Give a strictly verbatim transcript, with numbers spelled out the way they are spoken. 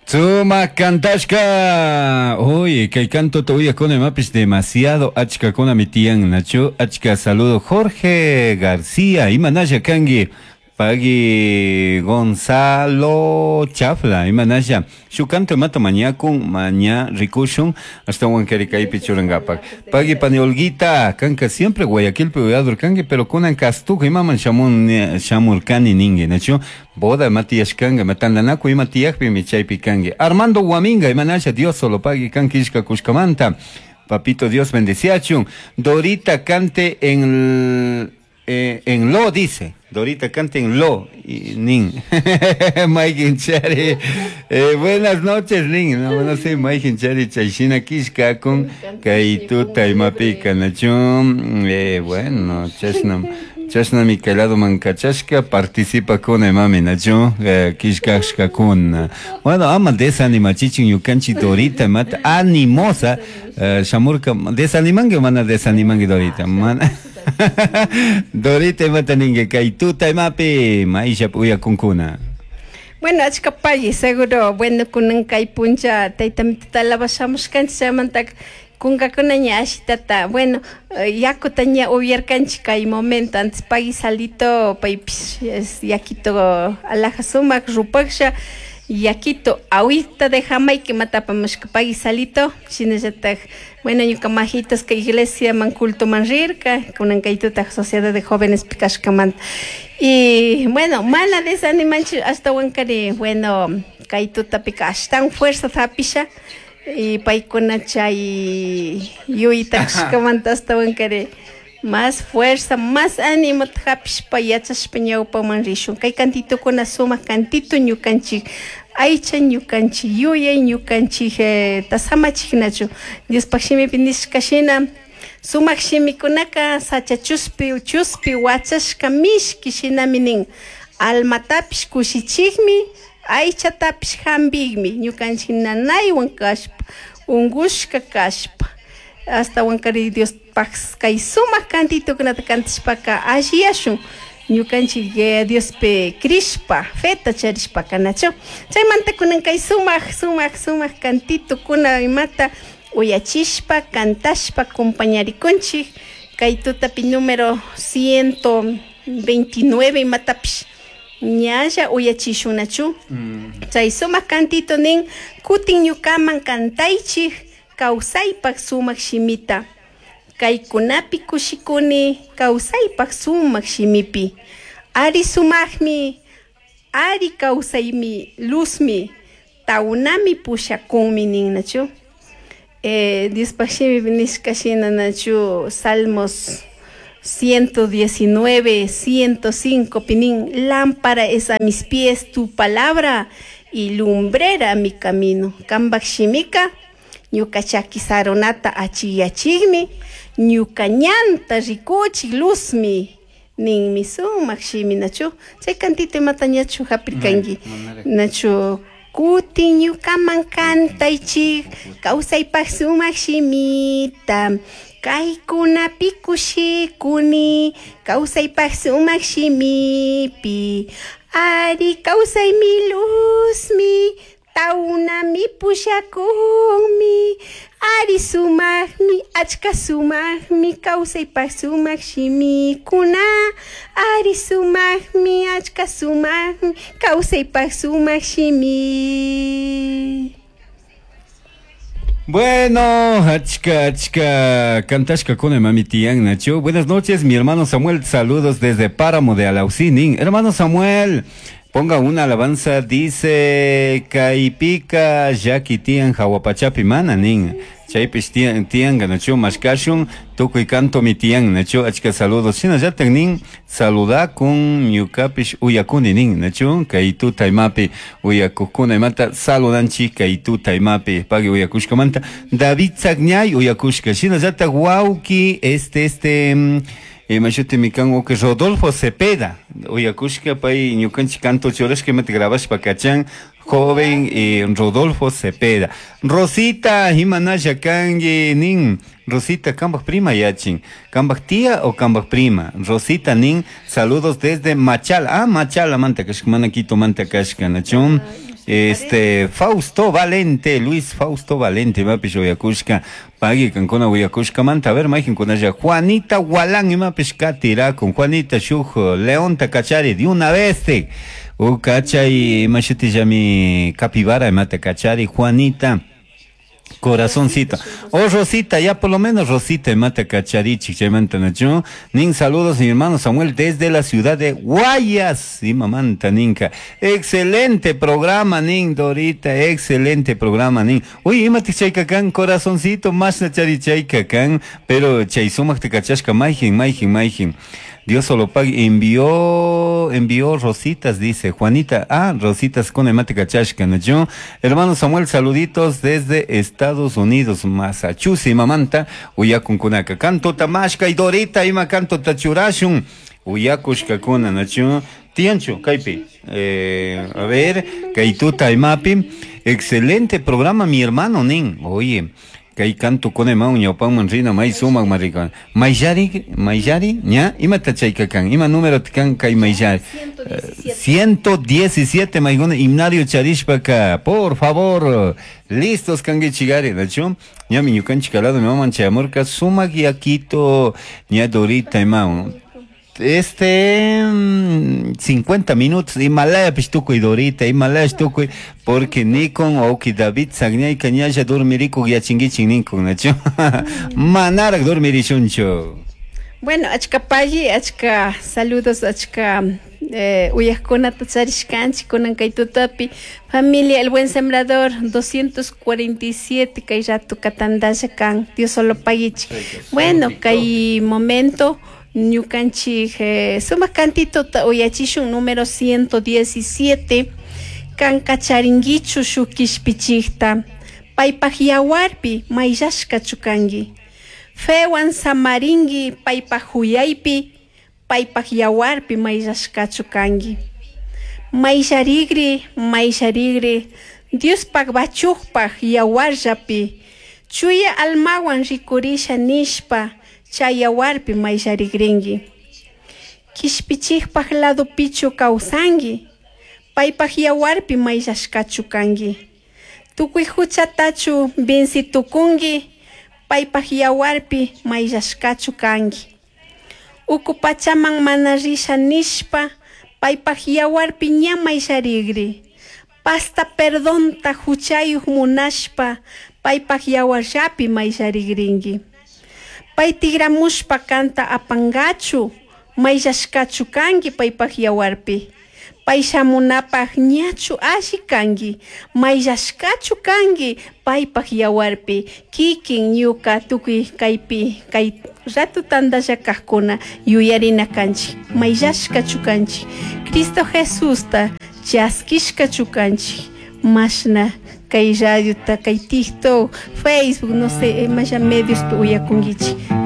Sumak kantashka. Uy, kay canto uyakuna imapish demasiado achkakuna tiyan nachu. Achka saludo Jorge García, imanalla kanki. Pagui Gonzalo Chafla, imanalla. Shuk canto imata mañakun, maña rikushun, hasta kaypi churankapak. Pagui pani Olguita, kanka siempre Guayaquilpi uyadur kanki, pero kunan kastuka imaman shamun shamurkani ningi, nachu. Boda ima tiyashkanka, ima tantanakuy ima tiyakpimi chaypi kanki. Armando Guaminga, imanalla, Dios solo pagui kanki ishka kushkamanta. Papito Dios bendeciachun. Dorita cante en eh, en lo dice. Dorita cante en lo y nin. Maikin Chari. Eh, buenas noches, nin. No, no sé, Maikin Chari chayshina kishka con kay tuta imapika nachun. Eh, bueno, chashna chashna mi lado mankachashka participa con mami nachu eh, kishkashka kun. Bueno, ama desanimachichin ñukanchik Dorita mata animosa eh, shamurka desanimangi mana desanimangi Dorita mana. Dorita imata ningi kay tuta imapi maisha uyakunkuna. Bueno, achka pagui, seguro, bueno, kunan kay puncha tayta mitata alabashamushkanchik chaymantaka kunkakuna ña ashitata, bueno, yakuta ña upyarkanchik kay momento, antes pagui Salito paypish es yakito alaja sumak rupaksha yakito agüita de Jamaica imata apamushka pagui Salito, shinallatak, bueno, ñuka majitos kay iglesia man culto man rirka, kunan kay tuta sociedad de jóvenes kashkamanta. Y bueno, mana desanimanchik ashtawankari, bueno, kay tutapika ashtawan fuerza hapisha y paykuna chay yuyta kashkamanta ashtawankari más fuerza, más ánimo hapishpa yachashpa ñawpaman rishun. Kay cantitokuna sumak cantito ñukanchik aycha ñukanchik yuyay ñukanchik eh, tasamachik Diospaj shimipi nishka shina sumak shimikunaka sacha chuspi chuspi wachashka mishki shinami nin almatapish kushichikmi aychatapish hampikmi ñukanchik nanaywan kashpa unkushka kashpa ashtawankari Diospaj kay sumak cantitokunata kantashpaka alliyashun ñukanchik Diospi crishpa feta charishpaka nachu chaymanta kunan kay sumak sumak sumak cantitokuna imata uyachishpa kantashpa acompañarikunchik kay tutapi número ciento veintinueve imatapish ñalla uyachishunachu mm. Chay sumak cantito nin kutin ñukaman kantaychik kawsaypak sumak shimita kaykunapi kushikuni kawsaypak sumak shimipi ari sumakmi ari kawsaymi luzmi tawnami pushakunmi nin nachu eh, Diospaj shimipi nishka shina nachu Salmos ciento diecinueve, ciento cinco pinin, lámpara es a mis pies tu palabra y lumbrera mi camino. Kambak shimika, ñuka chaki sarunata achiyachikmi, ñuka ñanta rikuchik luzmi, ninmi sumak shimi nachu. Chay cantito imata ñachu hapirkanki nachu. Kutin ñukaman kantaychik, kawsaypak sumak shimita, kaykunapi kushikuni, kawsaypak sumak shimipi, ari kawsaymi luzmi, tawnami pushakunmi, ari sumakmi, achka sumakmi, kawsaypak sumak shimikuna, ari sumakmi, achka sumakmi, kawsaypak sumak shimi. Bueno, achka, achka, kantashka kuna mami tiyan nachu. Buenas noches, mi hermano Samuel, saludos desde Páramo de Alausín. Hermano Samuel, ponga una alabanza, dice Kaipika, Jackie tiyan Jawapachapi mana nin. Chaypish tiyan tiyan nachu mashkashun tukuy canto mi tiyan nachu achka saludos. Shinallatak nin saludakun ñukapish uyakuni nin nachu kay tuta imapi uyakukuna imata saludanchik kay tuta imapi pagui uyakushkamanta David Tzagñay uyakushka shinallatak wawki este este imashuti mikan wawki Rodolfo Cepeda uyakushka pay ñukanchik canto churashka imata grabashpa kachan joven eh, Rodolfo Cepeda. Rosita, imanalla kanki nin. Rosita, kambaj prima yachin. Kambaj tía o kambaj prima. Rosita nin, saludos desde Machala. Ah, Machala manta kashka, mana Quito manta kashka, nachun. Este Fausto Valente, Luis Fausto Valente, imapish uyakushka, pagui kankuna uyakushkamanta, a ver, mayqinkunalla Juanita Walán imapish katirakun, Juanita shuk Leonta kachari de una vez te. U kachay imashutillami capibara imata kachari Juanita. Corazoncito. Oh, Rosita, ya por lo menos Rosita mata cacharichi, chaymanta nacho. Nin saludos, mi hermano Samuel, desde la ciudad de Guayas. Y mamanta, ninka. Excelente programa, nin, Dorita, excelente programa, nin. Uy, imati chaykakan, corazoncito, más na chari chaykakan, pero chay sumak te cachashka, maijin, maijin, maijin. Dios solo pague. Envió, envió rositas, dice Juanita. Ah, rositas con hemática chashka, ¿no? Yo, hermano Samuel, saluditos desde Estados Unidos, Massachusetts, mamanta, uyakunkunaka. Canto tamashka y Dorita, ima canto tachurashun. Uyakushkakuna, ¿no? Tiancho, kaipi. Eh, a ver, kaituta imapi. Excelente programa, mi hermano, nin. Oye. Kay canto con emau ñawpanman rina may sumaq marika mayllari mayllari ña imata chayka kan ima número kan kay mayllari ciento diecisiete mayguna himnario charishpaka por favor listos kankichigari nachu ñami ñukanchik lado mi maman chayamurka sumaq yakito ña Dorita imau este cincuenta minutos Himalaya tukuy Dorita Himalaya tukuy porque nikon oki David sagñayka ñalla dormirikuk yachinkichik ninkun nachu manarak dormirishunchu. Bueno, achka pagui, achka saludos, achka eh, uyajkunata charishkanchik kunan kay tutapi familia El Buen Sembrador doscientos cuarenta y siete kay rato katandalla kan Dios solo paguichik. Bueno, kay momento ñukanchik eh, sumaq cantito uyachishun número ciento diecisiete kan kacharinkichu shuk kishpichikta paypaj yawarpi mayllashkachu kanki fewan samarinki paypaj huyaypi paypaj yawarpi mayllashkachu kanki mayllarigri mayllarigri Diospaj bachukpaj yawarllapi chuya almawan rikurisha nishpa chay yawarpi mayllarigrinki kishpichikpaj ladopichu kawsanki paypaj yawarpi mayllashkachu kanki tukuy huchatachu vincitukunki paypaj yawarpi mayllashkachu kanki uku pachaman mana risha nishpa paypaj yawarpi ña mayllarigri pasta perdonta huchayuq munashpa paypaj yawarllapi mayllarigrinki pay tigramushpa kanta apankachu mayllashkachu kanki paypaj yawarpi pay shamunapaj ñachu alli kanki mayllashkachu kanki paypaj yawarpi kikin ñuka tukuy kaypi kay rato tantalla kajkuna yuyarina kanchik mayllashkachu kanchik Cristo Jesusta chaskishkachu kanchik mashna kay radiota kay TikTok, Facebook, no sé, maya medios uyakunkichik.